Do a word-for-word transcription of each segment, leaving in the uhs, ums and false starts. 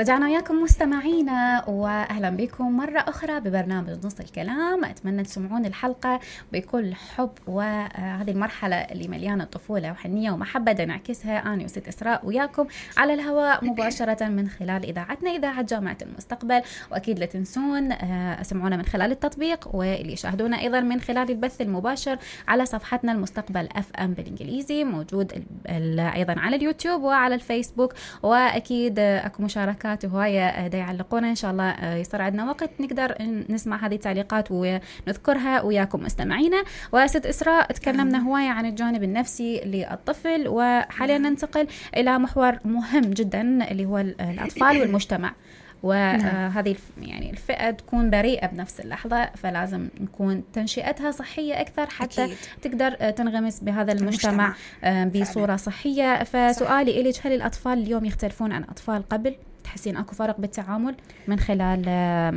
رجعنا وياكم مستمعينا واهلا بكم مره اخرى ببرنامج نص الكلام. اتمنى تسمعون الحلقه بكل حب، وهذه المرحله اللي مليانه طفوله وحنيه ومحبه نعكسها انا وست اسراء وياكم على الهواء مباشره من خلال اذاعتنا اذاعه جامعه المستقبل. واكيد لا تنسون اسمعونا من خلال التطبيق، واللي يشاهدونا ايضا من خلال البث المباشر على صفحتنا المستقبل اف ام بالانجليزي، موجود ايضا على اليوتيوب وعلى الفيسبوك. واكيد اكو مشاركات وهوايه دا يعلقونا، ان شاء الله يصير عندنا وقت نقدر نسمع هذه التعليقات ونذكرها وياكم مستمعينا. وست اسراء تكلمنا هوايه عن الجانب النفسي للطفل، وحاليا ننتقل الى محور مهم جدا اللي هو الاطفال والمجتمع. وهذه يعني الفئة تكون بريئة بنفس اللحظة، فلازم نكون تنشئتها صحية أكثر حتى أكيد. تقدر تنغمس بهذا المجتمع, المجتمع. بصورة صحية. فسؤالي إليك، هل الأطفال اليوم يختلفون عن أطفال قبل؟ تحسين أكو فرق بالتعامل من خلال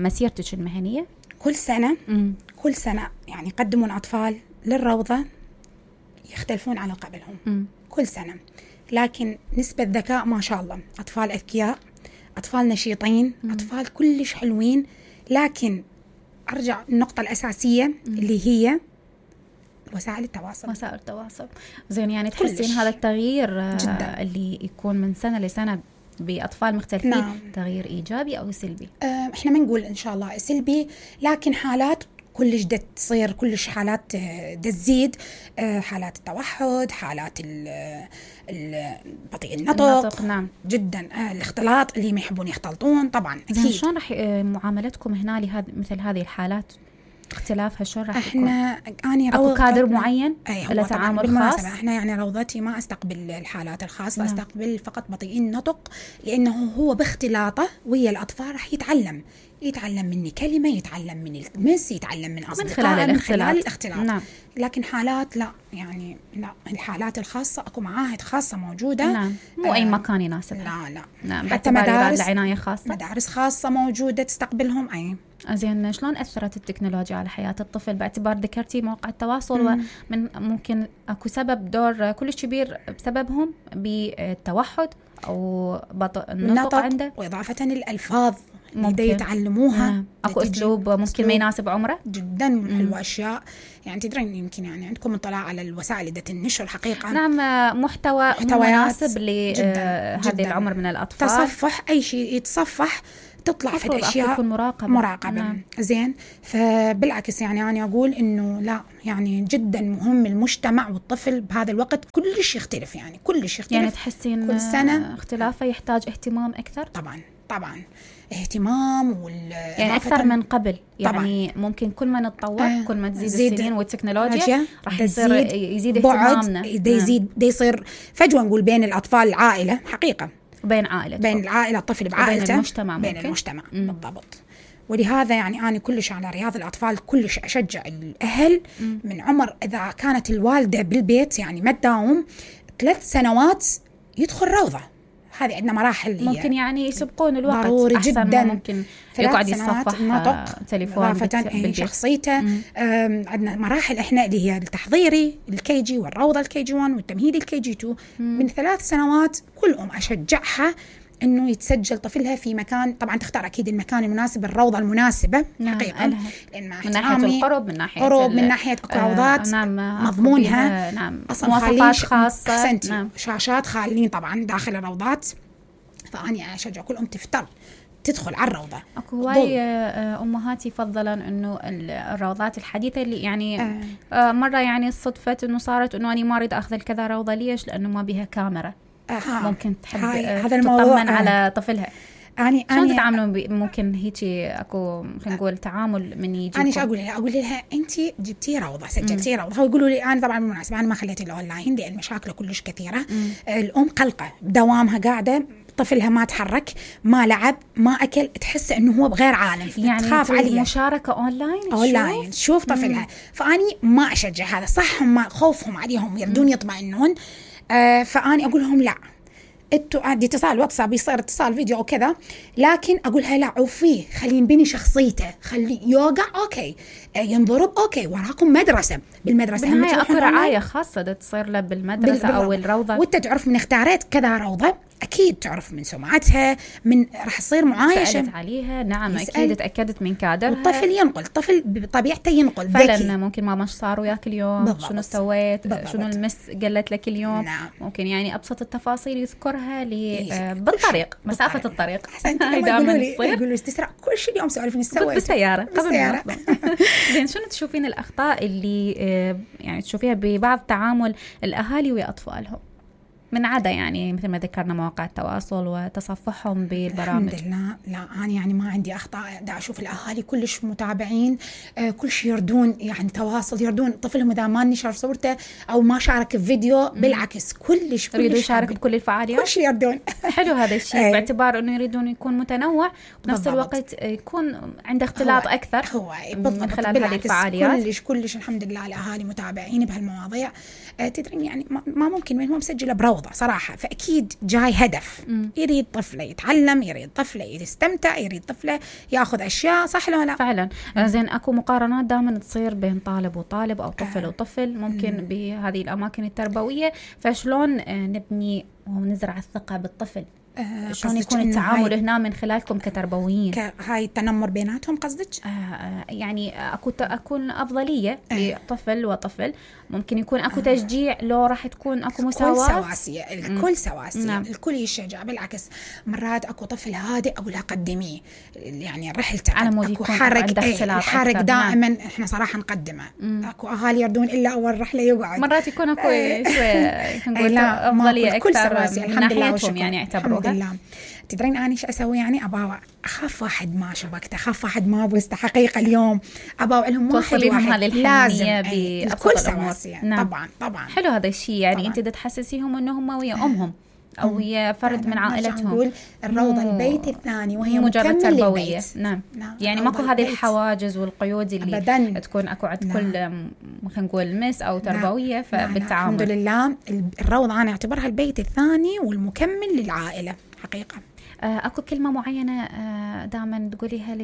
مسيرتك المهنية؟ كل سنة م. كل سنة يعني يقدمون أطفال للروضة يختلفون عن قبلهم م. كل سنة، لكن نسبة ذكاء ما شاء الله، أطفال أذكياء، أطفال نشيطين، مم. أطفال كلش حلوين. لكن أرجع النقطة الأساسية مم. اللي هي وسائل التواصل. وسائل التواصل زين، يعني تحسين هذا التغيير جداً. اللي يكون من سنة لسنة بأطفال مختلفين نعم. تغيير إيجابي أو سلبي؟ أه إحنا ما نقول إن شاء الله سلبي، لكن حالات كلش دا تصير، كلش حالات دا تزيد، حالات التوحد، حالات بطيء النطق, النطق نعم. جدا الاختلاط اللي ما يحبون يختلطون طبعا. زين، شلون راح معاملتكم هنا لهذا مثل هذه الحالات؟ اختلافها شلون راح يكون؟ احنا اني اكو كادر معين له تعامل خاص؟ احنا يعني روضتي ما استقبل الحالات الخاصه، نعم. استقبل فقط بطيء النطق، لانه هو باختلاطه ويا الاطفال راح يتعلم يتعلم مني كلمه، يتعلم من المس، يتعلم من اصدقائه، من خلال الاختلاط, من خلال الاختلاط. نعم. لكن حالات لا، يعني لا، الحالات الخاصه اكو معاهد خاصه موجوده، نعم. مو آه اي مكان يناسب. لا لا نعم. حتى مدارس عنايه خاصه، مدارس خاصه موجوده تستقبلهم. اي زين، شلون أثرت التكنولوجيا على حياة الطفل؟ باعتبار ذكرتي مواقع التواصل مم. ومن ممكن أكو سبب دور كلش كبير بسببهم بالتوحد أو بطء النطق عنده، وإضافة الألفاظ اللي يتعلموها. نعم. أكو أسلوب ممكن أسلوب ما يناسب عمره جدا من حلوة أشياء. يعني تدرين يمكن يعني عندكم اطلاع على الوسائل اللي النشر حقيقة، نعم، محتوى مناسب لهذا العمر من الأطفال. تصفح أي شيء يتصفح تطلع في الأشياء مراقبة, مراقبة. نعم. زين، فبالعكس يعني أنا أقول إنه لا، يعني جدا مهم المجتمع والطفل بهذا الوقت كلش يختلف، يعني كلش يختلف. يعني تحسين كل سنة اختلافه يحتاج اهتمام أكثر؟ طبعا طبعا اهتمام وال يعني أكثر من قبل. يعني طبعاً. ممكن كل ما نتطور آه كل ما تزيد السنين والتكنولوجيا راح يصير يزيد اهتمامنا، دا يزيد دا يصير فجوة نقول بين الأطفال العائلة حقيقة، بين عائلة بين العائلة الطفل بعائلته، بين المجتمع بين ممكن. المجتمع مم. بالضبط. ولهذا يعني أنا كلش على رياض الأطفال كلش أشجع الأهل مم. من عمر إذا كانت الوالدة بالبيت يعني ما تداوم ثلاث سنوات يدخل روضة. هذه عندنا مراحل ممكن يعني يسبقون الوقت ضروري جدا، ممكن يقعد يتصفح نطق تليفون شخصيته. عندنا مراحل احنا اللي هي التحضيري الكي جي والروضة الكي جي واحد والتمهيدي الكي جي اثنين. مم. من ثلاث سنوات كل أم أشجعها إنه يتسجل طفلها في مكان، طبعا تختار أكيد المكان المناسب، الروضة المناسبة. نعم. حقيقة لأن من ناحية القرب، من ناحية قرب من ناحية روضات، آه نعم. مضمونها نعم. مواصفات خاصة. أحسنتي. نعم. شاشات خالين طبعا داخل الروضات. فأني أشجع كل أم تفتر تدخل على الروضة. أكو هواي أمهات يفضلن إنه الروضات الحديثة اللي يعني آه. آه مرة يعني صدفت إنه صارت إنه أنا ما أريد أخذ الكذا روضة. ليش؟ لأنه ما بيها كاميرا. آه. ممكن تحب هذا تطمن آه. على طفلها. أني شلون تتعاملون ب... ممكن هيجي أكو خلينا نقول تعامل من يجيكم؟ أنا شو أقول لها؟ أقول لها أنتي جبتي روضة، سجلتي روضة. هو يقولوا لي أنا طبعا بالمناسبة أنا ما خليتي الأونلاين لأن مشاكله كلش كثيرة. مم. الأم قلقة بدوامها قاعدة، طفلها ما تحرك، ما لعب، ما أكل، تحس إنه هو بغير عالم، يعني تخاف عليه. مشاركة أونلاين أونلاين شوف طفلها. مم. فأني ما أشجع هذا، صح هم خوفهم عليهم يردون يطمئنون. آه فأني أقول لهم لا، انتوا عندي اتصال واتساب يصير اتصال فيديو وكذا، لكن اقولها لا عوفيه، خلي ينبني شخصيته، خلي يوقع اوكي، ينضرب اوكي، وراكم مدرسه، بالمدرسه بالنهايه اكو رعايه خاصه تصير له بالمدرسه بال... او الروضه. وانت تعرف من اختاريت كذا روضه اكيد تعرف من سمعتها، من راح تصير معايشه سألت عليها. نعم يسأل. اكيد تاكدت من كادرها. والطفل ينقل، الطفل بطبيعته ينقل فعلا ذكي. ممكن ماما ايش صار وياك اليوم، بالضبط. شنو سويت، بالضبط. شنو المس قالت لك اليوم. نعم. ممكن يعني ابسط التفاصيل يذكرها لي آه بالطريق، مسافه الطريق. دائما يقولوا تسرع كل شيء اليوم سوالف نسوي بالسياره قبل. زين شنو تشوفين الاخطاء اللي آه يعني تشوفيها ببعض تعامل الاهالي ويا اطفالهم من عدا يعني مثل ما ذكرنا مواقع التواصل وتصفحهم بالبرامج؟ الحمد لله لا أنا يعني ما عندي أخطاء. دا أشوف الأهالي كلش متابعين، آه كل شيء يردون يعني تواصل، يردون طفلهم إذا ما نشر صورته أو ما شارك الفيديو، بالعكس كلش يريدوا يشارك بكل الفعاليات، كل شيء يردون. حلو هذا الشيء باعتبار إنه يريدون يكون متنوع وبنفس الوقت يكون عنده اختلاط أكثر هو من خلال هذه الفعاليات. كلش كلش الحمد لله الأهالي متابعين بهالمواضيع. آه تدرين يعني ما ممكن من هو مسجله بروضة صراحة، فأكيد جاي هدف. م. يريد طفله يتعلم، يريد طفله يستمتع، يريد طفله ياخذ أشياء، صح ولا لا؟ فعلا. زين أكو مقارنات دائما تصير بين طالب وطالب أو طفل آه. وطفل ممكن م. بهذه الأماكن التربوية، فشلون نبني ونزرع الثقة بالطفل؟ آه شلون يكون التعامل هنا من خلالكم كتربويين؟ هاي التنمر بيناتهم قصدك؟ آه يعني أكو أكون أفضلية آه. لطفل وطفل، ممكن يكون أكو تشجيع لو راح تكون أكو مساواة. الكل سواسية، الكل سواسية. نعم. الكل يشجع، بالعكس مرات أكو طفل هادئ أقول لها قدميه يعني رحلته، على مود أكو حرق ايه الحرق دائما. نعم. إحنا صراحة نقدمه. مم. أكو أهالي يردون إلا أول رحلة يقعد، مرات يكون أكو شوي نقول أفضلية أكثر من ناحيتهم يعني يعتبروها. الحمد لله. تدرين أنا إيش أسوي يعني؟ أباوع أخاف واحد ما شبكته، أخاف واحد ما بوسته حقيقة اليوم، أباوع لهم واحد واحد لازم الكل سواسية. نعم. طبعا طبعا حلو هذا الشيء يعني طبعاً. أنت تحسسيهم أنهم ويا أمهم أو ويا فرد من عائلتهم. نقول الروضة البيت الثاني وهي مجرد تربوية. نعم. نعم يعني ماكو هذه الحواجز والقيود اللي أبداً. تكون أكو عند نعم. كل خلينا نقول مس أو تربوية. نعم. فبالتعامل الحمد لله الروضة أنا أعتبرها البيت الثاني والمكمل للعائلة حقيقة. أكو كلمة معينة دائما تقوليها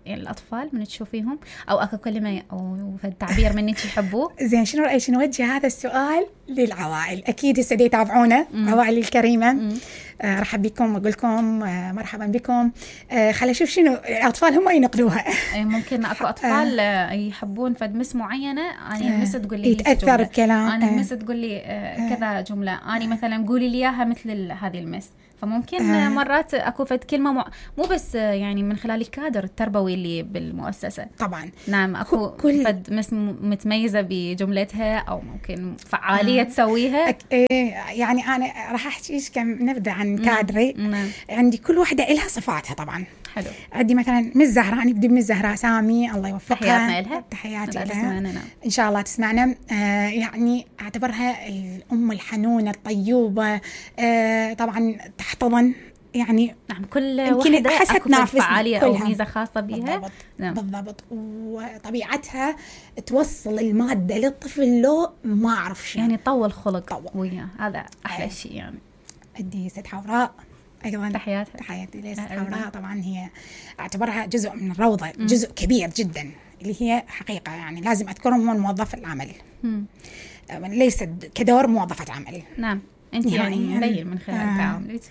للأطفال من تشوفيهم، أو أكو كلمة أو تعبير من أنت تحبوه؟ زين شنو رأيك نوجه هذا السؤال للعوائل؟ أكيد هسه يتابعونا عوائل الكريمة. آه رحب بكم وأقول لكم آه مرحبا بكم. آه خلي أشوف شنو الأطفال هم ينقلوها. ممكن أكو أطفال آه يحبون فد مس معينة، أنا مس تقول لي يتأثر الكلام، أنا آه مس تقول لي آه كذا جملة، أنا مثلا قولي لي إياها مثل هذه المس. فممكن آه. مرات أكو فد كلمة مع... مو بس يعني من خلال الكادر التربوي اللي بالمؤسسة. طبعا نعم أكو كل... فد مس متميزة بجملتها أو ممكن فعالية آه. تسويها. أك... إيه يعني أنا راح أحكي إيش كم نبدأ عن كادري. نعم. عندي كل واحدة إلها صفاتها طبعا. حلو. عندي مثلا مس زهراء، نبدأ بمس زهراء سامي الله يوفقها. تحياتنا لها. تحياتي لها. إن شاء الله تسمعنا. آه يعني أعتبرها الأم الحنونة الطيوبة. آه طبعا تحتضن يعني. نعم كل واحدة أكو فعالية أو ميزة خاصة بها. بالضبط. نعم. بالضبط. وطبيعتها توصل المادة للطفل لو ما أعرف شيء يعني طول خلق وياه، هذا أحلى أيه. شيء يعني. عندي ست حوراء أيضا. تحياتها. تحياتي لست حوراء. طبعا هي أعتبرها جزء من الروضة، م. جزء كبير جدا اللي هي حقيقة يعني لازم أذكرهم هو موظف العمل، م. ليست كدور موظفة عمل. نعم أنت يعني مبين من خلال آه. تعاملك.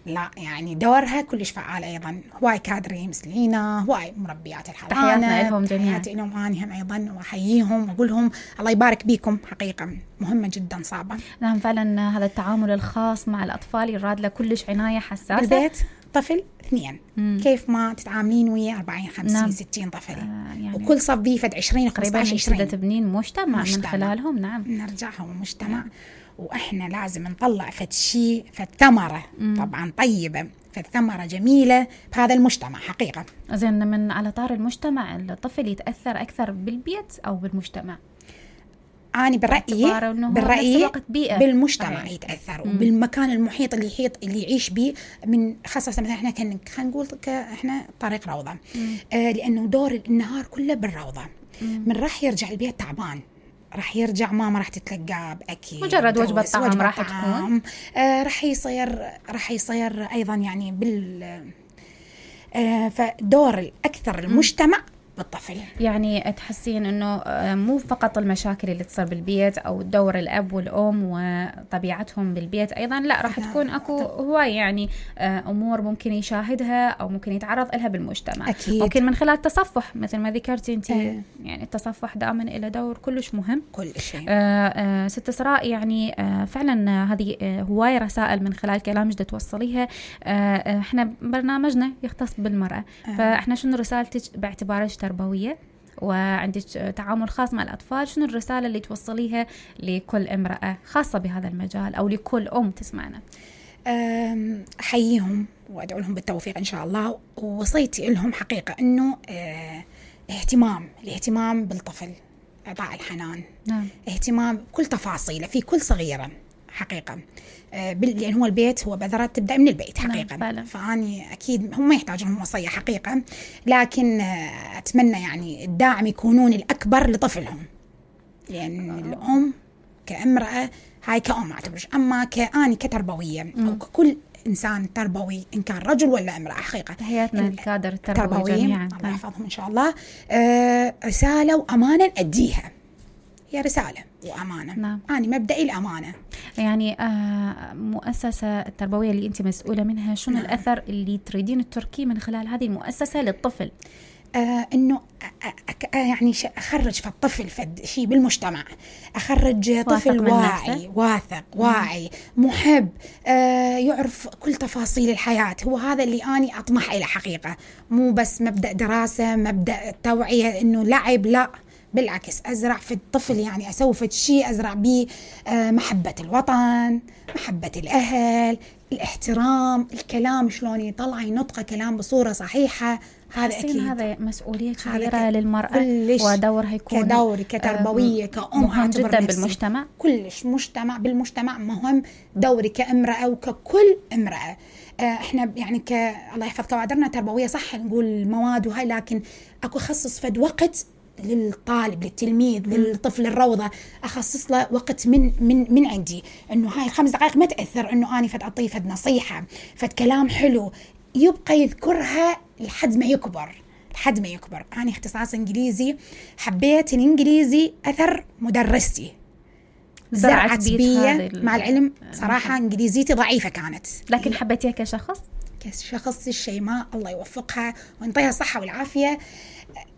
لا يعني دورها كلش فعال أيضا. هواي كادري مسلينا، هواي مربيات الحضانة. تحياتنا لهم جميعا. تحياتي لهم أنا هم أيضا، وأحييهم وأقول لهم الله يبارك بيكم، حقيقة مهمة جدا صعبة. نعم فعلا هذا التعامل الخاص مع الأطفال يراد له كلش عناية حساسة. بالبيت طفل اثنين مم. كيف ما تتعاملين ويا أربعين خمسين نعم. ستين طفل. آه يعني وكل صف بيه فد عشرين خمسطعش عشرين. قريبا تبنين مجتمع, مجتمع من خلالهم. نعم نرجعهم مجتمع. نعم. وإحنا لازم نطلع فد شيء فد ثمرة طبعا طيبة، فد ثمرة جميلة بهذا المجتمع حقيقة. زين من على طار المجتمع الطفل يتأثر أكثر بالبيت أو بالمجتمع؟ أنا برأيي برأيي بالمجتمع أيه. يتأثر مم. وبالمكان المحيط اللي يحيط اللي يعيش به، من خاصة مثلا إحنا كان خلينا نقول إحنا طريق روضة. آه لأنه دور النهار كله بالروضة. مم. من راح يرجع البيت تعبان، راح يرجع ماما راح تتلقاه بأكيد مجرد وجبة طعام راح تكون. آه راح يصير راح يصير أيضا يعني بال آه فدور الأكثر المجتمع بالطفل. يعني تحسين انه مو فقط المشاكل اللي تصير بالبيت او دور الاب والام وطبيعتهم بالبيت ايضا، لا راح تكون اكو هواي يعني امور ممكن يشاهدها او ممكن يتعرض لها بالمجتمع. أكيد. ممكن من خلال التصفح مثل ما ذكرتي انت. أه. يعني التصفح دائما له دور كلش مهم. كل شيء. آه آه ست إسراء، يعني آه فعلا هذه آه هواي رسائل من خلال كلامك بدها توصليها. آه احنا برنامجنا يختص بالمرأة. أه. فاحنا شنو رسالتك باعتبارك تربوية وعندك تعامل خاص مع الأطفال، شنو الرسالة اللي توصليها لكل امرأة خاصة بهذا المجال أو لكل أم تسمعنا؟ أحييهم وأدعو لهم بالتوفيق إن شاء الله. ووصيتي لهم حقيقة أنه اه اهتمام الاهتمام بالطفل، إعطاء الحنان. نعم. اهتمام بكل تفاصيله في كل صغيرة حقيقة. لأن هو البيت هو بذرة تبدأ من البيت حقيقة. نعم. فأني أكيد هم ما يحتاجون وصية حقيقة، لكن أتمنى يعني الداعم يكونون الأكبر لطفلهم، لأن أوه. الأم كامرأة هاي كأم أعتبرش، أما كأني كتربوية م. أو ككل إنسان تربوي إن كان رجل ولا امرأة حقيقة. تحياتنا الكادر التربوي جميعا. الله يحفظهم إن شاء الله. آه رسالة وأمانة نأديها، هي رسالة وأمانة. نعم. أنا مبدئي الأمانة. يعني آه مؤسسة التربوية اللي أنت مسؤولة منها، شنو نعم. الأثر اللي تريدين التركي من خلال هذه المؤسسة للطفل؟ آه إنه يعني أخرج في الطفل فد شيء بالمجتمع، أخرج طفل واعي واثق واعي محب، آه يعرف كل تفاصيل الحياة. هو هذا اللي أنا أطمح إلى حقيقة، مو بس مبدأ دراسة مبدأ توعية إنه لعب، لا بالعكس أزرع في الطفل، يعني أسوي في شيء أزرع به محبة الوطن، محبة الأهل، الاحترام، الكلام شلون يطلع ينطق كلام بصورة صحيحة. هذا أكيد هذا مسؤولية كبيرة للمرأة ودورها يكون كدوري كتربوية كأم مهم جدا بالمجتمع. كلش مجتمع بالمجتمع مهم دوري كامرأة وككل امرأة. احنا يعني ك الله يحفظ كوادرنا تربوية صح نقول مواد وهاي، لكن اكو خصص فد وقت للطالب للتلميذ للطفل الروضة، أخصص له وقت من من من عندي، إنه هاي الخمس دقائق ما تأثر، إنه أنا فد أعطيه فد نصيحة فد كلام حلو يبقى يذكرها لحد ما يكبر لحد ما يكبر. أنا اختصاص إنجليزي، حبيت الإنجليزي أثر مدرستي زرعت بي مع العلم صراحة إنجليزيتي ضعيفة كانت، لكن حبيتيها كشخص كشخص الشيماء الله يوفقها وينطيها الصحة والعافية.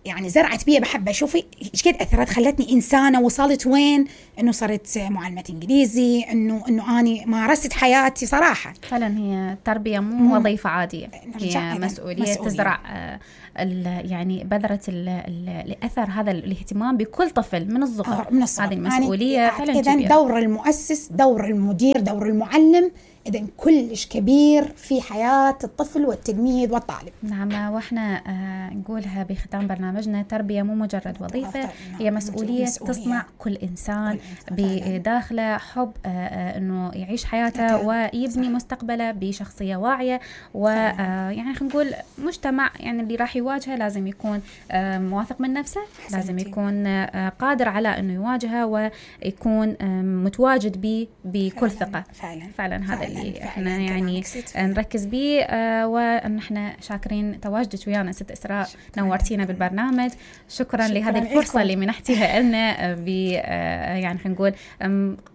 يعني زرعت بي بحبة، شوفي ايش قد أثرت، خلتني إنسانة، وصلت وين إنه صرت معلمة إنجليزي، إنه إنه أني مارست حياتي صراحة. فعلا هي التربية مو, مو وظيفة عادية، هي مسؤولية, مسؤولية تزرع آه يعني بذرة الأثر هذا الاهتمام بكل طفل من الصغر. من الصغر. هذه المسؤولية يعني فعلا كبيرة. إذن دور المؤسس، دور المدير، دور المعلم إذن كلش كبير في حياة الطفل والتلميذ والطالب. نعم، وإحنا آه نقولها بختام برنامجنا، تربية مو مجرد وظيفة، هي مسؤولية, مسؤولية تصنع كل إنسان بداخله حب آه آه إنه يعيش حياته ويبني مستقبله بشخصية واعية، ويعني خلينا نقول مجتمع يعني اللي راح يواجهه لازم يكون آه مواثق من نفسه، لازم يكون آه قادر على إنه يواجهه ويكون آه متواجد به بكل ثقة. فعلا, فعلا هذا اللي احنا يعني نركز به. آه ونحن شاكرين تواجدك ويانا ست إسراء، نورتينا بالبرنامج. شكرا, شكرا لهذه الفرصة اللي منحتيها لنا ب آه يعني خلينا نقول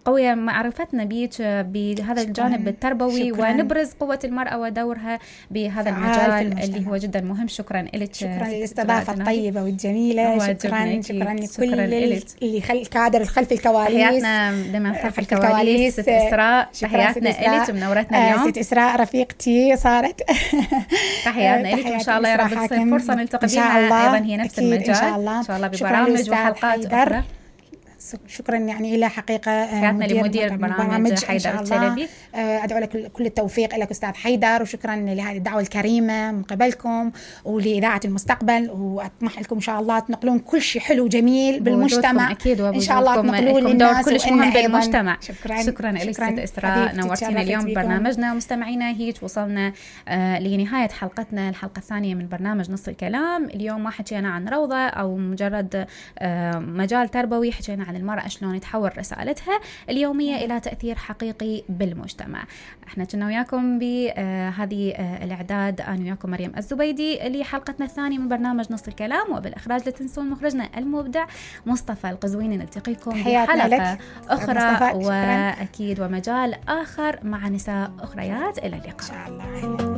قوية معرفتنا بيك بهذا الجانب التربوي، شكرا. ونبرز قوة المرأة ودورها بهذا المجال اللي هو جدا مهم. شكرا لك، شكرا للاستضافة الطيبة والجميلة، شكرا شكرا لكل اللي خلف كادر الخلف الكواليس. تحياتنا لمن خلف الكواليس ست إسراء، تحياتنا لك منورتنا اليوم. ست إسراء رفيقتي صارت. تحياتنا لك، وإن شاء الله يا رب تصير فرصة نلتقي بها أيضا هي نفس المجال إن شاء الله, إن شاء الله ببرامج وحلقات أخرى. شكرا يعني إلى حقيقة حياتنا لمدير برنامج حيدر التلبي. أدعو لك كل التوفيق لك أستاذ حيدر، وشكرا لهذه الدعوة الكريمة من قبلكم ولإذاعة المستقبل، وأطمح لكم إن شاء الله تنقلون كل شيء حلو جميل بالمجتمع أكيد، إن شاء الله تنقلون للناس كلش مهم بالمجتمع. شكرا شكرا لك ست إسراء، نورتينا اليوم ببرنامجنا. مستمعينا هيك وصلنا آه لنهاية حلقتنا، الحلقة الثانية من برنامج نص الكلام. اليوم ما حكينا عن روضة أو مجرد آه مجال تربوي، حكينا عن عن المرأة شلون تحول رسالتها اليومية إلى تأثير حقيقي بالمجتمع. احنا كنا وياكم بهذه الإعداد أنا وياكم مريم الزبيدي لحلقتنا الثانية من برنامج نص الكلام، وبالإخراج لا تنسون مخرجنا المبدع مصطفى القزويني. نلتقيكم بحلقة أخرى وأكيد ومجال آخر مع نساء أخريات. إلى اللقاء إن شاء الله.